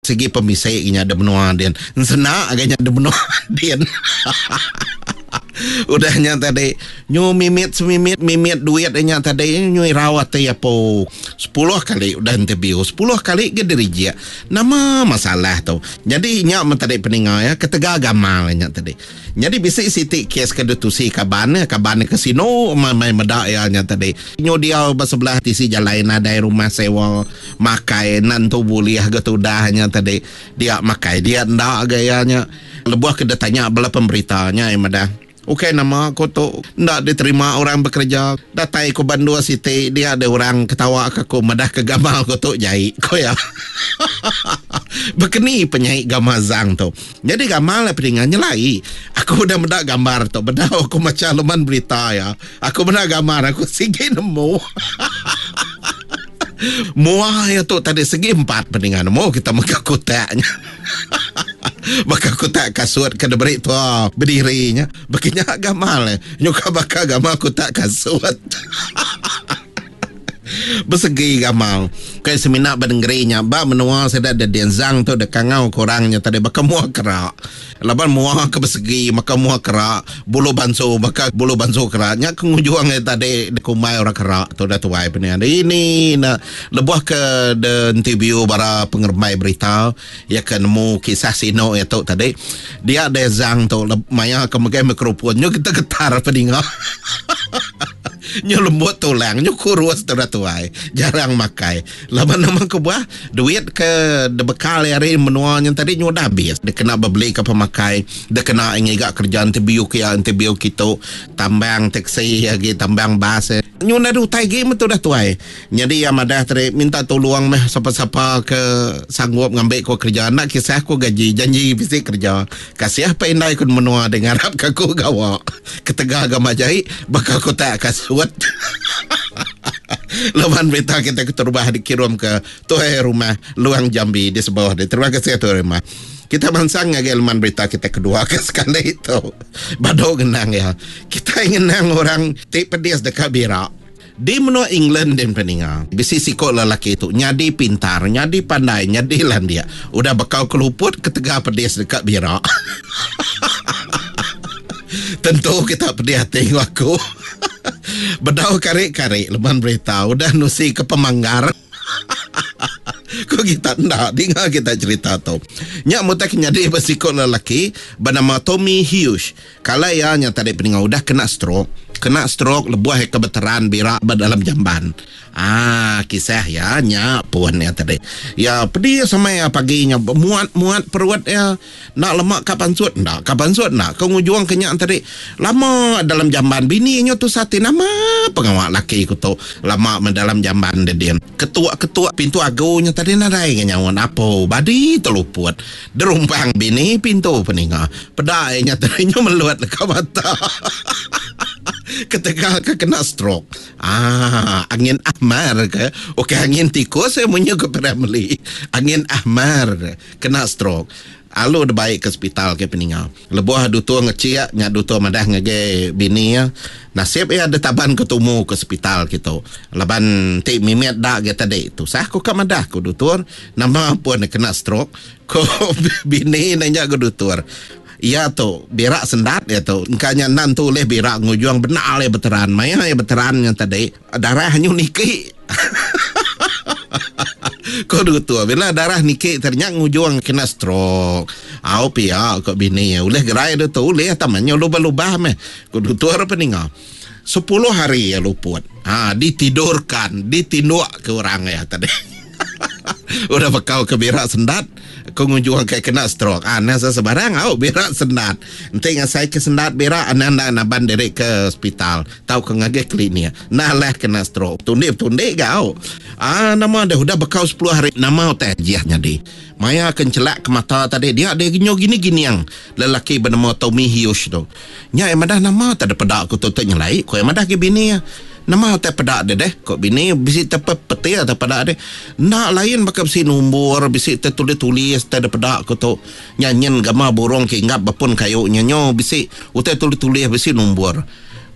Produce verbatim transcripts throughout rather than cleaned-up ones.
Segi pemisi nya de menua din. Ensena ga nya de menua din. Udah nya tadi nyu mimit semimit mimit duit nya tadi nyu irau ati apo. Sepuluh kali udah interview, sepuluh kali ga dirijik. Nama masalah tu? Nyadi nya men tadi peninga ya ketegal gamal nya tadi. Nyadi bisi siti kes ke ditusi kaban ya, kaban ke sinu mai meda ya nya tadi. Nyu diau ba sebelah tisi jalai nadai rumah sewa, makai nentu bulih ga tudah nya tadi. Dia makai dia enda ga ya nya. Lebuh ke ditanya bala pemberita nya ya madah. Okey nama aku tu enda diterima orang bekerja. Datai ku Bandung City dia ada orang ketawa ke aku madah ke gamal aku tu jai ko ya. Bekeni penyai gamal Zang tu. Jadi gamal lah peninga nyelai. Aku udah meda gambar tu bedau aku maca leman berita ya. Aku meda gambar aku sigi nemu. Mua ya tu tadi segi empat peninga nemu kita mega kotaknya. Baka kotak kasut ke diberi tua berdirinya. Begini gamal nyuka baka gamal kotak kasut. Bersegi gamal. Kai semina bernegerinya ba menua seda de denzang tu de kangau korangnya tadi baka mua kerak. Laban mua ke bersegi maka mua kerak, bulu bansu maka bulu bansu kerak. Nya kengujuang tadi de kumai orang kerak tu dah tuai penian. Ini na lebuh ke de interview bara pengerembai berita ya ke nemu kisah sino ya tu tadi. Dia dezang tu maya ke megai mikrofon nyu kita getar peninga. Nyu lembut tulang, nyu kurus tu dah tuai. Jarang makai. Laban nama ke buah duit ke dibekal hari menua nya tadi nyu dah habis. Dia kena beli ke pemakai, dia kena ngiga kerja interview ke ya, interview kitu, tambang taksi lagi, tambang bas. Nyu dah utai gi metu dah tuai. Jadi yang madah tadi minta tolong meh siapa-siapa ke sanggup ngambil ko kerja. Nak kisah ko gaji, janji bisi kerja. Kasih apa indai ku menua dia ngarap ke aku gawa. Ketegal agama jai bakal ku tak kasut. Leman berita kita keterubah dikirim ke tuai rumah Luang Jambi di sebelah dia. Terima kasih tuai rumah. Kita bansang ngagai leman berita kita kedua ke sekali itu. Badok ngenang ya. Kita ngenang orang ti pedis dekat birak. Di menua England dan peninga. Bisi sikok lelaki tu nyadi pintar, nyadi pandai, nyadi landia. Udah bekau keluput ketegal pedis dekat birak. Tentu kita pedih hati aku. Bedau karik-karik leman berita udah nusi ke pemanggar. Ko kita ndak dengar kita cerita tu. Nyak mutak nyadi besikok lelaki bernama Tommy Hughes. Kalau ia nya tadi peninga udah kena stroke. Kena stroke lebuh ke veteran birak dalam jamban. Ah, kisah ya nya pun ya tadi. Ya pedih sama ya paginya muat-muat perut ya. Nak lemak ka pansut ndak, ka pansut ndak. Kau ngujuang kenyak tadi. Lama dalam jamban bini nya tu sati nama pengawak laki ku tu. Lama dalam jamban dia dia. Ketua-ketua pintu agunya tadi nadai nyawan apo. Badi terluput. Derumpang bini pintu peninga. Pedai nya tadi nya meluat leka mata. Ketegal ke kena stroke. Ah, angin ahmar ke? Okey, angin tikus saya munyi ke family. Angin ahmar kena stroke. Alu de baik ke hospital ke peninga. Lebuh dutur ngeciak nya dutur madah ngage bini ya. Nasib ya ada taban ketumu ke hospital kitu. Laban ti mimit dak ge tadi tu. Sah ku ka madah ku dutur nama pun kena stroke. Ko bini nanya ke dutur. Ya tu birak sendat ya tu. Engkanya nan tu oleh birak ngujuang benar le veteran. Maya ya veteran yang tadi darah nyu niki. Ko dutur bila darah niki ternyata ngujuang kena stroke. Au pia ko bini ya uleh gerai tu uleh tamanyo lubah-lubah meh. Ko dutur peninga. Sepuluh hari ya luput. Ha ditidurkan, ditinduk ke orang ya tadi. Udah bekau ke birak sendat, ko ngujuang ke kena stroke. Ah, nasa sebarang au birak sendat. Enti ngasai ke sendat birak anda ndak naban diri ke hospital, tau ke ngage klinik. Nah lah kena stroke. Tundik-tundik gau. Ah, nama dah udah bekau sepuluh hari nama utai ajiah nyadi. Maya kencelak ke mata tadi dia dia genyo gini-gini yang lelaki bernama Tommy Hughes tu. Nya yang madah nama tak ada pedak ku tu tu nyelai, ku yang madah ke bini ya. Nama utai pedak dia deh, kok bini bisi tepe peti atau pedak deh. Nak lain bakal bisi nombor, bisi tertulis-tulis tak ada pedak ku tu. Nyanyin gama burung ke inggap bepun kayu nyanyo bisi utai tulis-tulis bisi nombor.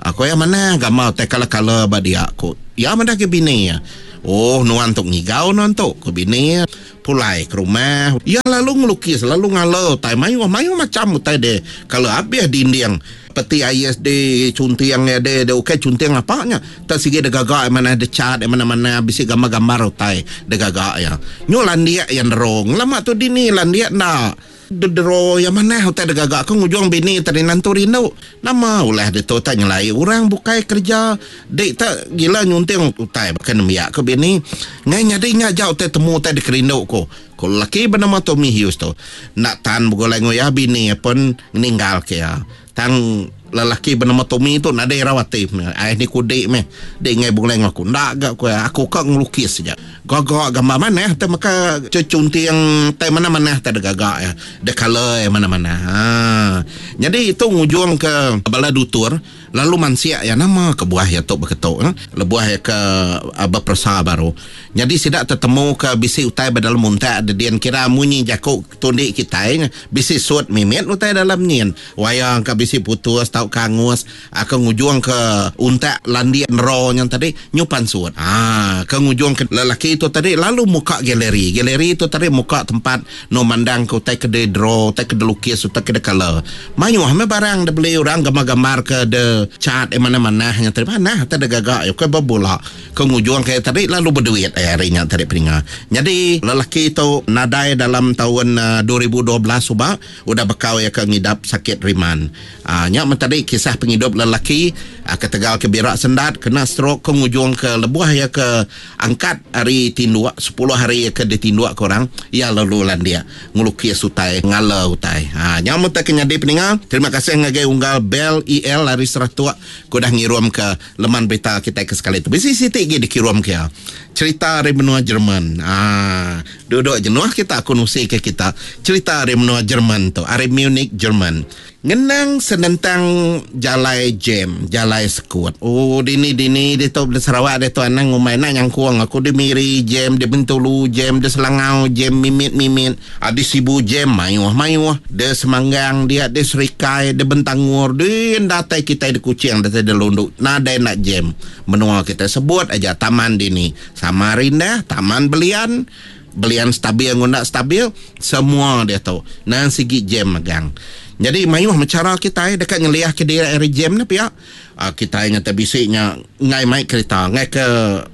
Aku yang mana gama utai kala-kala ba dia ku. Ya madah ke bini ya. Oh nuan tu ngigau nuan tu ku bini pulai ke rumah. Iya lalu ngelukis lalu ngala utai mayuh mayuh macam utai de kalau habis dinding peti ais de cunting ya de de ukai cunting apa nya tak sigi de gagak mana de cat mana-mana bisi gambar-gambar utai de gagak ya. Nyu landik yang derong lama tu dini landik ndak dedero yang mana utai de gagak aku ngujung bini tadi nantu rindu nama ulah de tu tak nyelai orang bukai kerja dek tak gila nyunting utai bahkan nembiak ke bini ngai nyadi nya jauh utai temu utai de kerindu ko. Ko laki bernama Tommy Hughes tu nak tan begulai ngoya bini pun meninggal ke ya. Tang lelaki bernama Tommy tu nadai rawati ai ni kudik meh dek ngai begulai ngaku ndak gak ko aku kak ngelukis saja gagak gambar mana te maka cecunting te mana-mana te gagak ya de color mana-mana. Ha jadi itu ngujung ke bala dutur lalu mansia ya nama kebuah ya tok beketok ha? Lebuah ya ke berpersa baru. Jadi sidak tertemu ke bisi utai dalam muntak dedian kira munyi jakuk tundik kita bisi suat mimit utai dalam nyin wayang ke bisi putus tau kangus akan ngujung ke untak landian ro yang tadi nyupan suat. Ah ke ngujung ke lelaki itu tadi lalu muka galeri. Galeri itu tadi muka tempat no mandang ke utai ke de draw, utai ke de lukis, utai ke de color. Mayuh me barang de beli orang gambar-gambar ke de cat eh mana-mana yang tadi mana tadi gagak ya ke berbola ke ngujung ke tadi lalu berduit eh harinya tadi peringa. Jadi lelaki itu nadai dalam tahun uh, dua ribu dua belas subak udah bekau ya ke ngidap sakit riman. Ah uh, nyak tadi kisah penghidup lelaki uh, ke Tegal ke Birak Sendat kena stroke ke ngujung ke lebuah ya ke angkat hari tinduk sepuluh hari ya ke ditinduk ke orang ya lalu lan dia ngelukis utai ngala utai. Ha nyak tak kenyadi peninga. Terima kasih ngagai unggal Bell E L hari Seratua ku dah ngirum ke leman berita kita ke sekali tu. Bisi siti gi dikirum ke cerita dari benua Jerman. Ah, duduk jenuh kita aku nusi ke kita cerita dari benua Jerman tu, dari Munich Jerman. Ngenang senentang jalai jam, jalai sekut. Oh, dini dini di tu di Sarawak di tu anang ngumai nak nyangkuang aku di Miri jam, di Bentulu jam, di Selangau jam mimit-mimit. Ah, di Sibu jam mayuh-mayuh, di Semanggang dia, di Serikai, di Bentangur, di datai kita di Kuching, datai di Lunduk. Nadai nak jam. Menua kita sebut aja taman dini. Samarinda, Taman Belian, Belian stabil nguna stabil, semua dia tahu. Nan sigi jam megang. Jadi mayuh cara kita dekat ngeliah ke dia air jam ni pihak. Uh, kita ingat bisiknya ngai mai kereta, ngai ke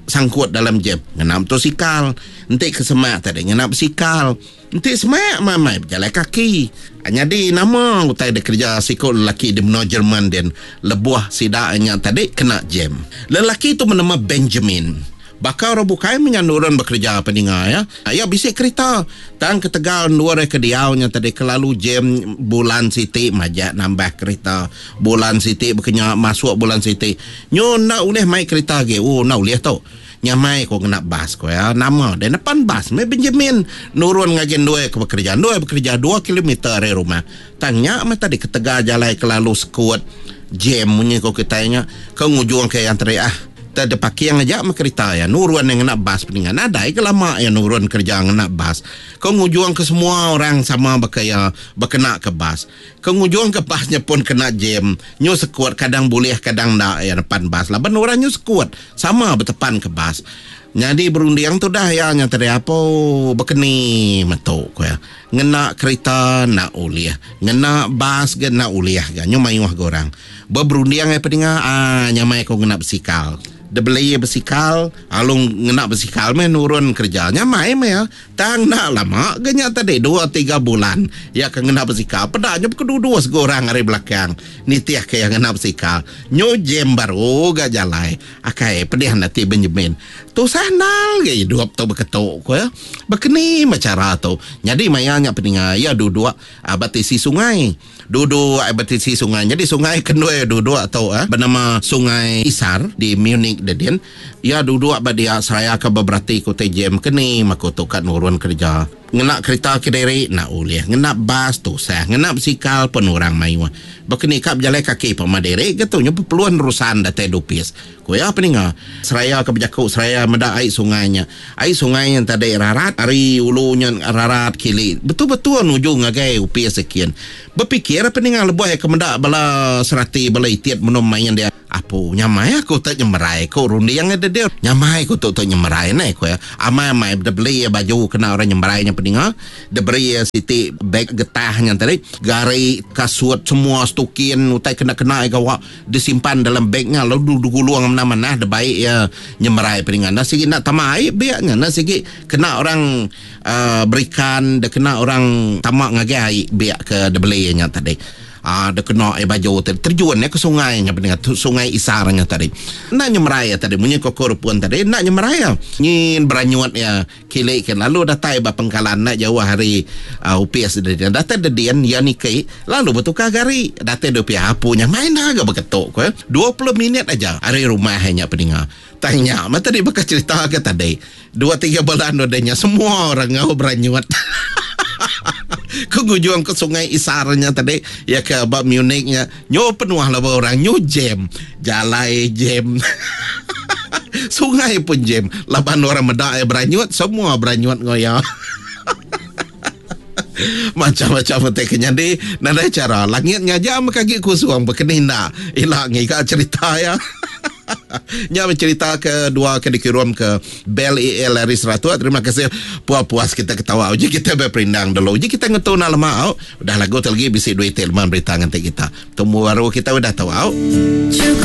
sangkut dalam jam. Ngena motosikal, entik ke semak tadi ngena basikal. Entik semak mamai berjalan kaki. Jadi nama utai dia kerja sikut lelaki di benua Jerman dan lebuah sidaknya tadi kena jam. Lelaki tu bernama Benjamin. Bakal orang bukai menyanduran bekerja peninga ya. Ya bisik kereta. Tang ke Tegal dua ke diaunya tadi kelalu jam bulan siti majak nambah kereta. Bulan siti berkenya masuk bulan siti. Nyo nak uleh mai kereta ge. Oh nak uleh tu. Nyamai ko kena bas ko ya. Nama dan depan bas me Benjamin nurun ngajen dua ke bekerja. Dua bekerja dua kilometer dari rumah. Tangnya mah tadi ke Tegal jalai kelalu sekut jam munyi ko kitanya ke ngujung ke yang teri ah. Ada pakai aja sama kereta ya nurun yang nak bas peningan nadai ke lama ya nurun kerja nak bas kau ngujuang ke semua orang sama berkaya berkena ke bas kau ngujuang ke basnya pun kena jam nyu sekuat kadang boleh kadang nak ya depan bas lah ben orang nyu sekuat sama bertepan ke bas. Jadi berundiang tu dah ya nya tadi apa berkeni metuk ko ya ngena kereta nak uliah ngena bas ke nak uliah ga nyu mayuh ga orang berundiang ai peninga ah nyamai ko ngena basikal. Dia beli basikal, alung ngena basikal meh nurun kerja. Nyamai meh ya. Tang nak lama genya tadi dua tiga bulan ya ke ngena basikal. Pedaknya kedua-dua segorang hari belakang. Nitiah ke yang ngena basikal. Nyo jam baru ga jalai. Akai pedih nanti Benjamin. Tu sanal ge hidup tu berketuk ko ya. Berkeni macara tu. Jadi mayanya peninga ya duduk batisi sungai. Duduk batisi sungai. Jadi sungai kendua duduk atau eh, bernama Sungai Isar di Munich Dedin. Ya duduk badia seraya ke beberati ku jam keni maku tu kat nurun kerja. Ngena kereta ke diri nak ulih, ngena bas tu sah, ngena basikal pun orang mayu. Berkeni kap berjalan kaki pama diri gitu nya perluan urusan datai dupis. Ku ya peninga seraya ke berjakuk seraya meda air sungainya. Air sungai yang tadi rarat ari ulunya rarat kili. Betul-betul nuju ngagai upis sekian. Berpikir peninga lebuh ke meda bala serati bala itiat menom main dia. Apu nyamai aku tu nyemerai ko runding dia dia. Nyamai aku tu tu nyemerai neh ko ya. Amai-amai dia beli baju kena orang nyemerai nya peninga. Dia beri siti beg getah nya tadi. Gari, kasut, semua stukin utai kena-kena gawa disimpan dalam begnya lalu digulung mana-mana dia baik ya nyemerai peninga. Nah sigi nak tama air biaknya nah sigi kena orang uh, berikan dia kena orang tamak ngagai air biak ke dia beli nya tadi. Ah, dia kena air baju tadi terjun ya ke sungai nya peninga sungai Isarnya tadi. Nak nyemerai ya tadi munyi kokor pun tadi nak nyemerai ya. Nyin beranyut ya kilik kan lalu datai ba pengkalan nak jauh hari uh, U P S dia datai dedian ya niki lalu bertukar gari datai do pia apunya main agak berketuk ko dua puluh minit aja hari rumah nya peninga. Tanya mata tadi bekas cerita ke tadi dua tiga bulan udahnya semua orang ngau beranyut. Ku ngujuang ke sungai Isarnya tadi ya ke bab Munichnya nyo penuh lah orang nyo jam jalai jam. Sungai pun jam laban orang medak beranyut semua beranyut ngoya. Macam-macam te kenyadi nadai cara langit ngajak makagi kusuang berkeninda ilak ngiga cerita ya. Nya cerita kedua ke dikirim ke Bell E L dari Seratus. Terima kasih puas-puas kita ketawa. Uji kita berperindang dulu. Uji kita ngetu nak lama au. Udah lagu lagi bisi duit teman berita nganti kita. Temu baru kita udah tahu au. Cukup.